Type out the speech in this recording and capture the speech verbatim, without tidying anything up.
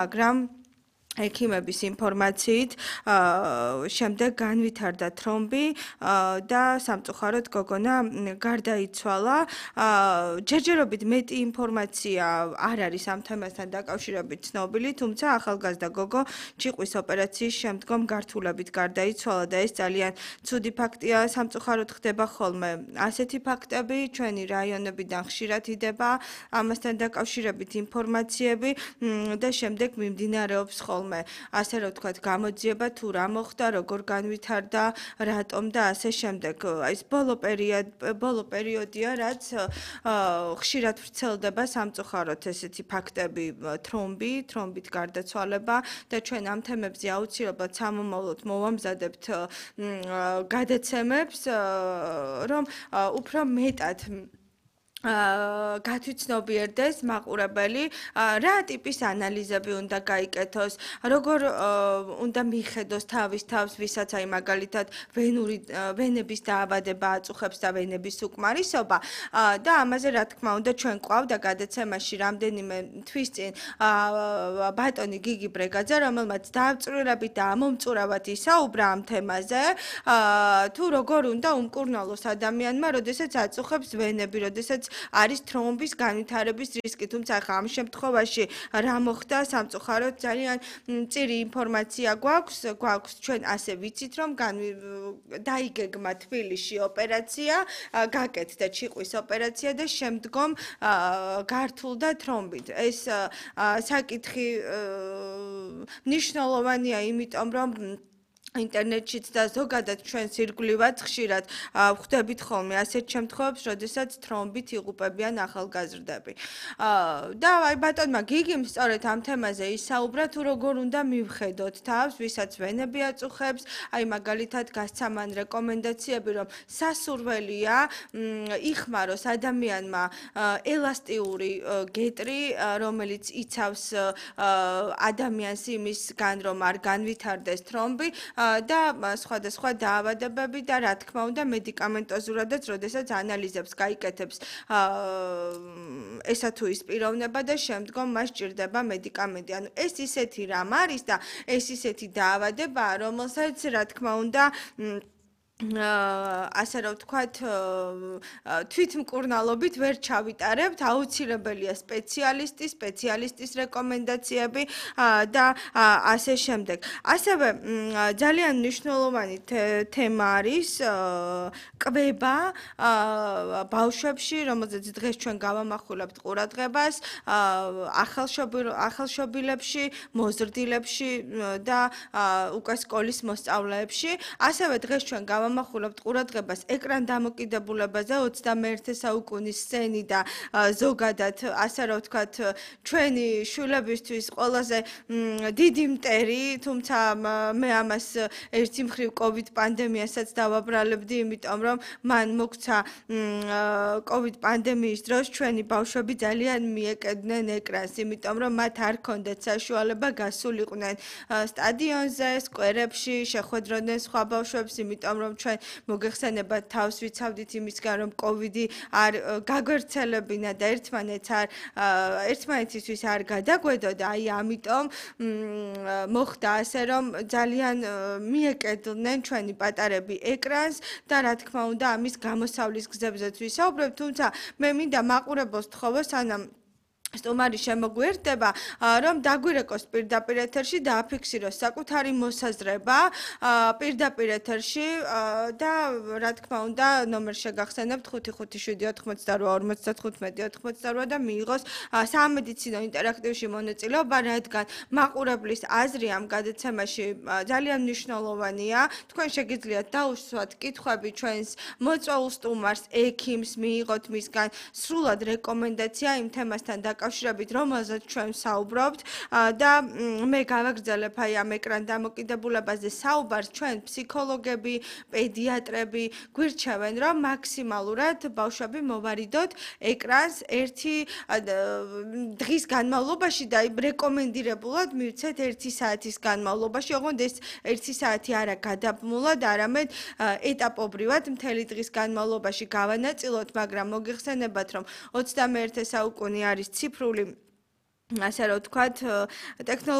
მაგრამ ექიმების ინფორმაციით შემდეგ განვითარდა თრომბი და სამწუხაროდ გოგონა გარდაიცვალა. ჯერჯერობით მეტი ინფორმაცია არ არის ამ თემასთან დაკავშირებით ცნობილი, თუმცა ახალგაზრდა გოგო ჭიყვის ოპერაციის შემდგომ გართულებით გარდაიცვალა და ეს ძალიან ცუდი ფაქტია. სამწუხაროდ ხდება ხოლმე ასეთი ფაქტები, ჩვენი რაიონებიდან ხშირად იდება ამასთან დაკავშირებით ინფორმაციები და შემდეგ მიმდინარეობს ხოლმე ასე რომ ვთქვათ, გამოძიება თუ რა მოხდა, როგორ განვითარდა, რატომ და ასე შემდეგ. ეს ბოლო პერიოდი, ბოლო პერიოდია, რაც ხშირად ვრცელდება სამწუხაროდ ესეთი ფაქტები, თრომბი, თრომბით გარდაცვალება და ჩვენ ამ თემებზე აუცილებლად სამომავლოდ მოვამზადებთ გადაცემებს, რომ უფრო მეტად გათვითცნობიერდეს მაყურებელი, რა ტიპის ანალიზები უნდა გაიკეთოს, როგორ უნდა მიხედოს თავის თავს, ვისაც აი მაგალითად ვენური ვენების დაავადება აწუხებს და ვენების უკმარისობა და ამაზე რა თქმა უნდა ჩვენ ყავდა გადაცემაში რამდენიმე თვის წინ ბატონი გიგი ბრეგაძე, რომელმაც დაავწრირებით და ამომწურავად ისაუბრა ამ თემაზე, თუ როგორ უნდა უმკურნალოს ადამიანმა, როდესაც აწუხებს ვენები, როდესაც არის თრომბის განვითარების რისკი, თუმცა ახლა ამ შემთხვევაში რა მოხდა, სამწუხაროდ ძალიან მწირი ინფორმაცია გვაქვს, გვაქვს ჩვენ ასე ვიცით, რომ დაიგეგმა თბილისში ოპერაცია, გაკეთდა ჭიყვის ოპერაცია და შემდგომ გართულდა თრომბით. ეს საკითხი მნიშვნელოვანია, იმიტომ რომ ინტერნეტშიც და ზოგადად ჩვენს ირგვლივად ხშირად ვხვდებით ხოლმე ასეთ შემთხვევებს, როდესაც თრომბით იღუპებიან ახალგაზრდები. და აი ბატონმა გიგიმ სწორედ ამ თემაზე ისაუბრა, თუ როგორ უნდა მივხედოთ თავს, ვისაც ვენები აწუხებს, აი მაგალითად გასცა მან რეკომენდაციები, რომ სასურველია იხმაროს ადამიანმა ელასტიური გეტრი, რომელიც იცავს ადამიანს იმისგან, რომ არ განვითარდეს თრომბი. და სხვადასხვა დაავადებები და რა თქმა უნდა მედიკამენტოზურადაც, როდესაც ანალიზებს გაიკეთებს ესა თუ ის პიროვნება და შემდგომ მას ჭირდება მედიკამენტი. ანუ ეს ისეთი რამ არის და ეს ისეთი დაავადებაა, რომელსაც რა თქმა უნდა ასე რომ ვთქვათ, თვითმკურნალობით ვერ ჩავიტარებთ, აუცილებელია სპეციალისტი, სპეციალისტის რეკომენდაციები და ასე შემდეგ. ასევე ძალიან მნიშვნელოვანი თემა არის კვება ბავშვებში, რომელზეც დღეს ჩვენ გავამახვილებთ ყურადღებას, ახალშობილებში, მოზრდილებში და უკვე სკოლის მოსწავლეებში. ასევე დღეს ჩვენ გავამახვილებთ ყურადღებას ეკრან დამოკიდებულებაზე ოცდამეერთე საუკუნის სცენი და ზოგადად ასე რომ ვთქვათ ჩვენი შვილებისთვის ყველაზე დიდი მტერი, თუმცა მე ამას ერთი მხრივ კოვიდ პანდემიასაც დავაბრალებდი, იმიტომ რომ მან მოგვცა კოვიდ პანდემიის დროს ჩვენი ბავშვები ძალიან მიეკედნენ ეკრანს, იმიტომ რომ მათ არ ჰქონდათ საშუალება გასულიყვნენ სტადიონზე, სკვერებში, შეხვედროდნენ სხვა ბავშვებს, იმიტომ რომ ჩვენ მოგეხსენებათ თავს ვიცავდით იმისგან, რომ კოვიდი არ გაგვერცელებინა და ერთმანეთს არ ერთმანეთისთვის არ გადაგვედოდა, აი ამიტომ მოხდა ასე, რომ ძალიან მიეკედნენ ჩვენი პატარები ეკრანს და რა თქმა უნდა ამის გამოსავლის გზებზეც ვისაუბრებ, თუმცა მე მინდა მაყურებელს თხოვო, სანამ სტუმარი შემოგვიერთდება, რომ დაგვირეკოს პირდაპირ ეთერში და აფიქსიროს საკუთარი მოსაზრება პირდაპირ ეთერში და რა თქმა უნდა ნომერ შეგახსენებთ ხუთი ხუთი შვიდი ოთხმოცდარვა ორმოცდათხუთმეტი ოთხმოცდარვა და მიიღოს სამედიცინო ინტერაქტივში მონაწილეობა, რადგან მაყურებლის აზრი ამ გადაცემაში ძალიან მნიშვნელოვანია. თქვენ შეგიძლიათ დაუსვათ კითხვები ჩვენს მოწვეულ სტუმარს, ექიმს, მიიღოთ მისგან სრულად რეკომენდაცია იმ თემასთან დაკავშირებით, რომელზეც ჩვენ საუბრობთ და მე გავაგრძელებ აი ამ ეკრან დამოკიდებულებაზე საუბარს, ჩვენ ფსიქოლოგები, პედიატრები გვირჩევენ, რომ მაქსიმალურად ბავშვები მოვარიდოთ ეკრანს ერთი დღის განმავლობაში და რეკომენდირებულად მივცეთ ერთი საათის განმავლობაში, ოღონდ ეს ერთი საათი არა გადაბმულად, არამედ ეტაპობრივად მთელი დღის განმავლობაში გავანაწილოთ, მაგრამ მოგეხსენებათ, რომ ოცდამეერთე საუკუნე არის ციფრული ასე რომ ვთქვათ, ტექნოლოგიები